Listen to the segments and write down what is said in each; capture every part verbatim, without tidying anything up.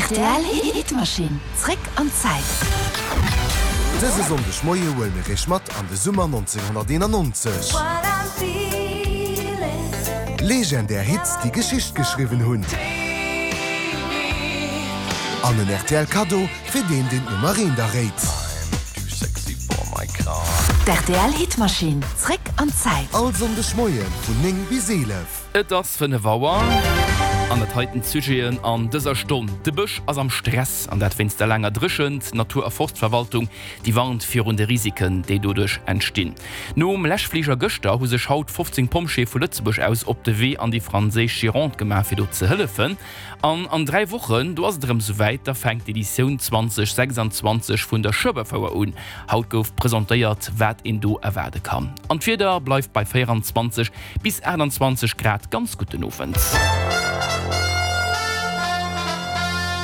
Rtl Hitmaschinn, zréck an d'Zäit. Dëse Sonndeg Moie huele mir iech mat an de Summer nonzénghonnerteenannonzeg. Legendär Hits, déi Geschicht geschriwwen hunn. An en R T L Kaddo fir deen, deen d'Nummer eent erréit. D R T L Hitmaschinn, zréck an d'Zäit. All Sonndeg Moie vun néng bis eelef. Et ass fënnef Auer an dat heiten d'Sujeten an dëser Stonn. De Bësch ass am Stress an dat wéinst der laanger Dréchent. D'Natur a Forstverwaltung déi warnt virun de Risiken, déi doduerch entstinn. Nom Läschfliger gëschter hu sech haut fofzéng Pompjeeë vu Lëtzebuerg aus op de Wee an déi franséisch Gironde gemaach fir do ze hëllefen. An an dräi Wochen, do ass et erëm souwäit, da fänkt d'Editioun zweedausendsechsanzwanzeg vun der Schueberfouer un. Haut gouf presentéiert, wat een do erwaarde kann. An d'Wieder bleift bei véieranzwanzeg bis aachtanzwanzeg Grad. Ganz gudden Owend.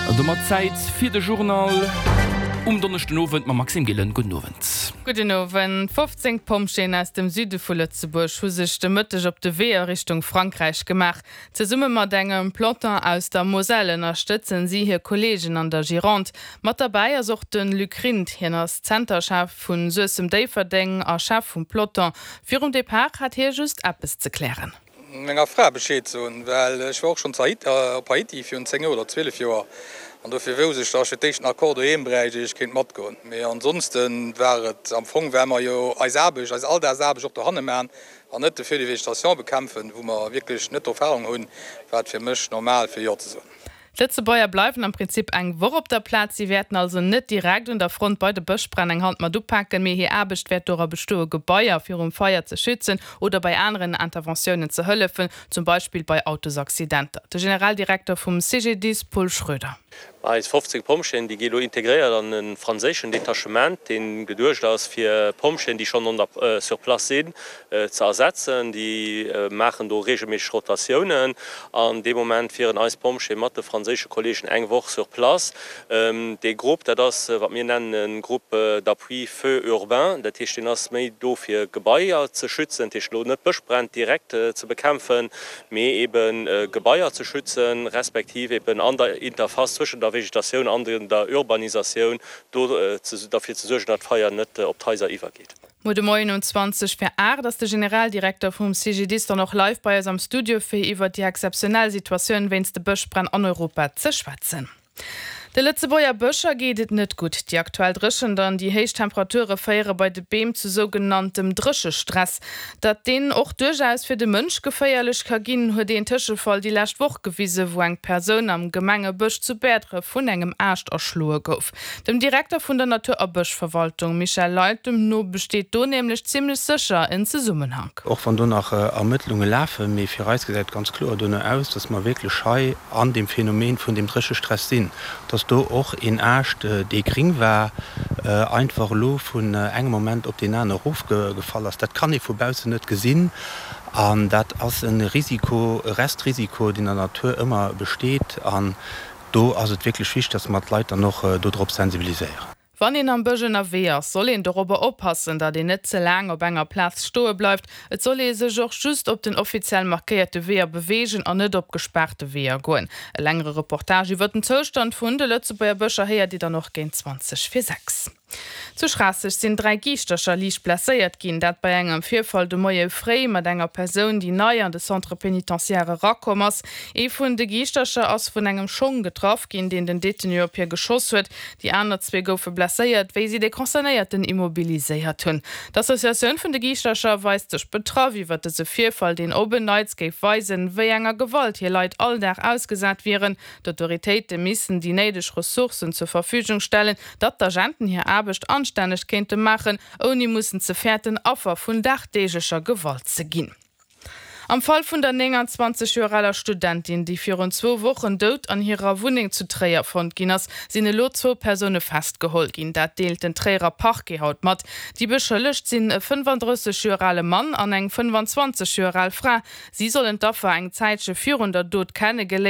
An domat Zäit fir de Journal um Donneschden Owend mam Maxime Gillen. Gudden Owend. Gudden Owend. fofzéng Pompjeeën aus dem Süde vu Lëtzebuerg hu sech de Mëtteg op de Wee a Richtung Frankräich gemaach. Zesumme mat engem Peloton aus der Moselle ënnerstëtzen si hir Kolleegen an der Gironde. Mat derbäi ass och de Luc Rindt. Hien ass Zenterchef vu Suessem-Déifferdeng a Chef vum Peloton. Virum Depart hat hie just eppes ze klären. Menger Fra Bescheed soen, well ech war och schonn op Haiti virun zéng oder zwielef Joer an dofir wousst ech, datt ech fir d'éischt en Accord doheem bräicht, ier ech kéint matgoen. Mee ansonsten war et am Fong, well mer jo eis Aarbecht, eis Alldagsaarbecht och dohanne maachen an net de Feu de végétation bekämpfen, wou mer wierklech net Erfarung hunn, war et fir mech normal fir Jo ze soen. D'Lëtzebuerger bleiwen am Prinzip eng Woch op der Plaz. Si wäerten also net direkt un der Front bei de Bëschbränn eng Hand mat upaken, mee hir Aarbecht wäert dora bestoen, Gebaier virum Feier ze schützen oder bei aneren Interventiounen ze hëllefen, zum Beispill bei Autosaccidenter. De Generaldirekter vum C G D I S, Paul Schröder. Eis fofzéng Pompjeeën, déi gi lo integréiert an e franséischen Detachement, dee geduecht ass fir Pompjeeën, déi schonn an der sur place sinn, ze ersetzen. Déi maachen do reegelméisseg Rotatiounen an dee Moment wieren eis Pompjeeë mat de franséische Kolleegen eng Woch sur place. Dee Grupp, dat ass wat mir nennen e Groupe d'appui feu urbain, dat heescht deen ass méi do fir Gebaier ze schützen, dat heescht lo net Bëschbränn direkt ze bekämpfen, mee eben Gebaier ze schützen, respektiv eben an der Interface zwëschen der Vegetatioun an der Urbanisatioun do derfir ze suergen, datt d'Feier net op d'Haiser iwwergeet. Muer de Moien um zwanzeg vir aacht ass de Generaldirekter vum C G D I S dann och live bei eis am Studio fir iwwer déi exzeptionell Situatioun wéinst de Bëschbränn an Europa ze schwätzen. De Lëtzebuerger Bëscher geet et net gutt. Déi aktuell Dréchent an déi héich Temperature féiere bei de Beem zu sougenanntem Dréchestress. Datt deen och duerchaus fir de Mënsch geféierlech ka ginn, huet een Tëschefall déi lescht Woch gewisen, wou eng Persoun am Gemengebësch zu Bäertref vun engem Aascht erschloe gouf. Dem Direkter vun der Natur a Bëschverwaltung Michel Leytem no besteet do nämlech zimmlech sécher en Zesummenhank. Och wann do nach Ermëttlunge lafen, mee fir eis gesäit et ganz kloer dono aus, datt mer wierklech hei an deem Phänomen vun dem Dréchestress sinn, datt do och een Aascht, dee gréng war, einfach elo vun engem Moment op deen anere erofgefall ass. Dat kann ee vu baussen net gesinn an dat ass e Risiko, e Restrisiko, deen an der Natur ëmmer besteet an do ass et wierklech wichteg, datt mer d'Leit dann och dodrop sensibiliséieren. Wann een am Bësch ënnerwee ass, soll een dorobber oppassen, datt een net ze laang op enger Plaz stoe bleift. Et soll ee sech och just op den offiziell markéierte Weeër beweegen an net op gespaarte Weeër goen. E längere Reportage iwwer den Zoustand vun de Lëtzebuerger Bëscher héiert Dir dann och géint zwanzeg vir sechs. Zu Schraasseg sinn dräi Giischtercher liicht blesséiert ginn, dat bei engem Virfall de Moie fréi mat enger Persoun, déi nei an de Centre pénitentiaire erakomm ass. Ee vun de Giischtercher ass vun engem Schong getraff ginn, deen den Detenu op hie geschoss huet. Déi aner zwee goufe blesséiert, wéi si de Concernéierten immobiliséiert hunn. D'Associatioun vun de Giischtercher weist sech betraff iwwer dëse Virfall, deen op en Neits géif weisen, wéi enger Gewalt hir Leit all Dag ausgesat wieren. D'Autoritéite missten déi néideg Ressourcen zur Verfügung stellen, datt d'Agenten hir Aarbecht anstänneg kéinte maachen, ouni mussen ze fäerten, Affer vun dagdeeglecher Gewalt ze ginn. Am Fall vun der nénganzwanzeg Joer aler Studentin, déi virun zwou Wochen dout an hirer Wunneng zu Tréier fonnt ginn ass, sinn elo zwou Persoune festgeholl ginn. Dat deelt den Tréierer Parquet haut mat. Déi Beschëllegt sinn e fënnefandrësseg Joer ale Mann an eng fënnefanzwanzeg Joer al Fra. Si sollen d'Affer eng Zäitche virun der Dot kennegeléiert.